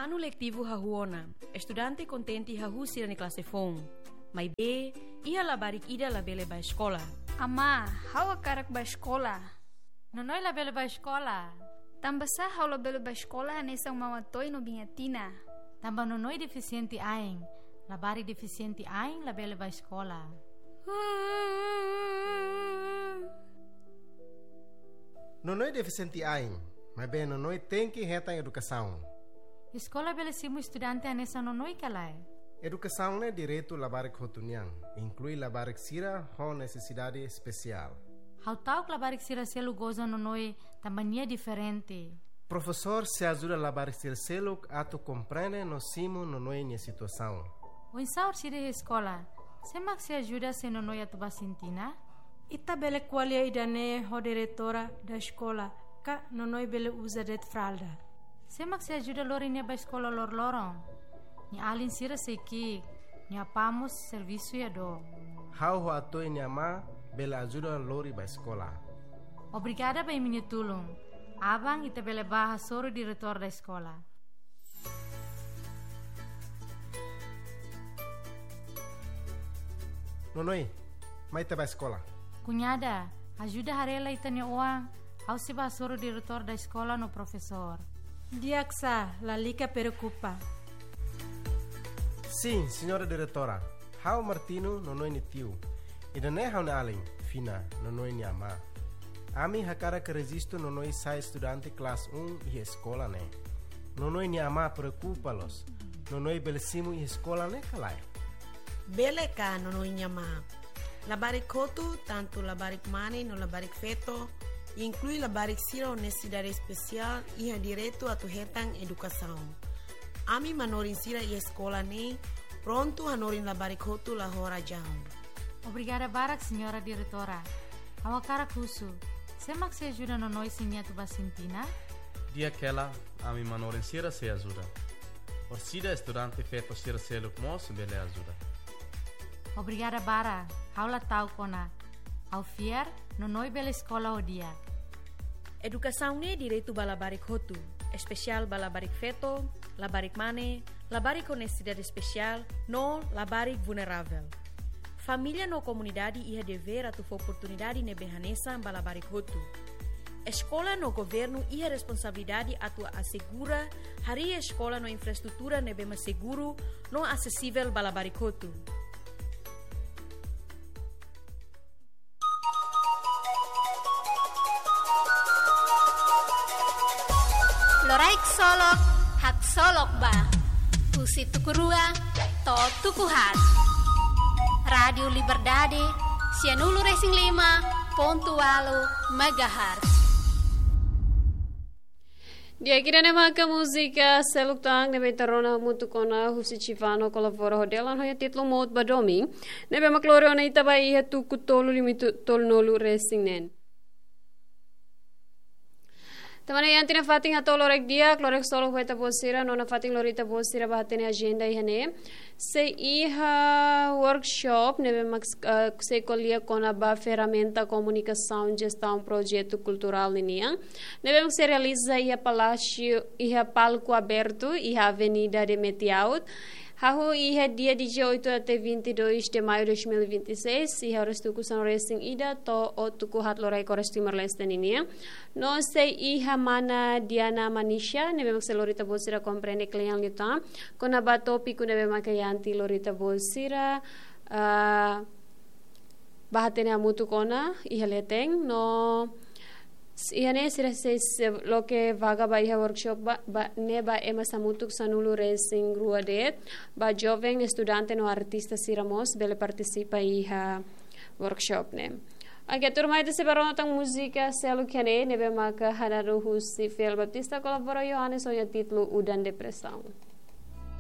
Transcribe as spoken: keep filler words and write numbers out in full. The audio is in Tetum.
Anu letivu hahú ona, estudante kontente hahú sira-nia klase foun. Maibé, iha labarik ida labele bá eskola. Amá, ha'u hakarak bá eskola. Nonoi labele bá eskola. Tanbasá ha'u labele bá eskola hanesan Maun Atoy no Biin Atina? Tanba Nonoi defisiente ain. Labarik defisiente ain labele bá eskola. Nonoi defisiente ain, maibé Nonoi tenke hetan edukasaun. Eskola bele simu estudante hanesan Nonoi ka lae? Edukasaun ne'e direitu labarik hotu nian, inklui labarik sira ho nesesidade espesiál. Ha'u ta'uk labarik sira seluk goza Nonoi tanba nia diferente. Profesór sei ajuda labarik sira seluk atu komprende no simu Nonoi nia situasaun. Oinsá orsida iha eskola? Sé mak sei ajuda se Nonoi atu bá sintina? Ita bele ko'alia ida-ne'e ho diretora da eskola, ka Nonoi bele uza de'it fralda. Sé mak sei ajuda lori nia bá eskola loroloron? Nia alin sira sei ki'ik, nia apá mós servisu iha dook. Ha'u ho Atoy nia amá bele ajuda lori bá eskola. Obrigada ba imi-nia tulun. Aban ita bele bá hasoru diretór da eskola. Nonoi, mai ita bá eskola. Kuñada, ajuda haree lai ita-nia oan, ha'u sei bá hasoru diretór da eskola no profesór. Di'ak sá, lalika preokupa. Sin, señora diretora. Ha'u Martino, Nonoi nia tiu. Ida-ne'e ha'u-nia alin, Fina, Nonoi nia amá. Ami hakarak rejistu Nonoi sai estudante klase um iha eskola ne'e. Nonoi nia amá preokupa loos. Nonoi bele simu iha eskola ne'e ka lae? Bele ka, Nonoi nia amá. Labarik hotu, tantu labarik mane no labarik feto, inklui labarik sira ho nesesidade espesiál, iha direitu atu hetan edukasaun. Ami manorin sira iha eskola ne'e prontu hanorin labarik hotu la ho razaun. Obrigada barak, señora diretora. Ha'u hakarak husu, sé mak sei ajuda Nonoi se nia atu bá sintina? Di'ak hela, ami manorin sira sei ajuda. Orsida estudante feto sira seluk mós bele ajuda. Obrigada barak, ha'u la ta'uk ona. Ha'u fiar, Nonoi bele eskola ho di'ak. Edukasaun ne'e direitu ba labarik hotu, espesiál ba labarik feto, labarik mane, labarik ho nesesidade espesiál, no labarik vulneravel. Família no komunidade iha devér atu fó oportunidade ne'ebé hanesan ba labarik hotu. Eskola no governu iha responsabilidade atu asegura harii eskola no infraestrutura ne'ebé mak seguru no asesivel ba labarik hotu. Loraik solok, haksolok ba. Husi tuku rua to'o tuku haat. Rádiu Liberdade, sianulu resin lima pontu ualu megahertz. Di'ak, ida-ne'e maka múzika seluk tan ne'ebé ita rona hamutuk ona husi Chivano kolabora ho Delan ho nia títulu Mout ba Domin, ne'ebé mak lori ona ita ba iha tuku tolu limitu tolunulu resin neen. Tanba ne'e iha ita-nia fatin hato'o loraik di'ak, loraik solok ba ita-boot sira, no nafatin lori ita-boot sira bá hatene ajenda iha ne'e. Sei iha workshop ne'ebé mak, eh, sei ko'alia kona-ba ferramenta komunikasaun jestaun projetu kulturál ninian, ne'ebé mak sei realiza iha palásiu, iha palku abertu, iha Avenida de Metiaut, hahú iha dia dezoito até vinte e dois de maio de dois mil e vinte e seis, iha oras tuku sanulu resin ida to'o tuku haat loraik oras Timor-Leste ninian. No sei iha mana Diana Manisha, ne'ebé mak sei lori ita-boot sira komprende kle'an liután kona-ba tópiku ne'ebé mak iha ita lori ita-boot sira, ah, bá hatene hamutuk ona iha leten, no s-, iha ne'e sira sei, sei loke vaga ba iha workshop ba, ba, ne'e ba ema hamutuk sanulu resin rua de'it, ba joven, estudante no artista sira mós bele partisipa iha workshop ne'e. Oke, tuirmai ita sei bá rona tan múzika seluk iha ne'e, ne'ebé maka hananu husi Fiel Baptista kolabora Yohanes ho nia títulu Udan Depresaun.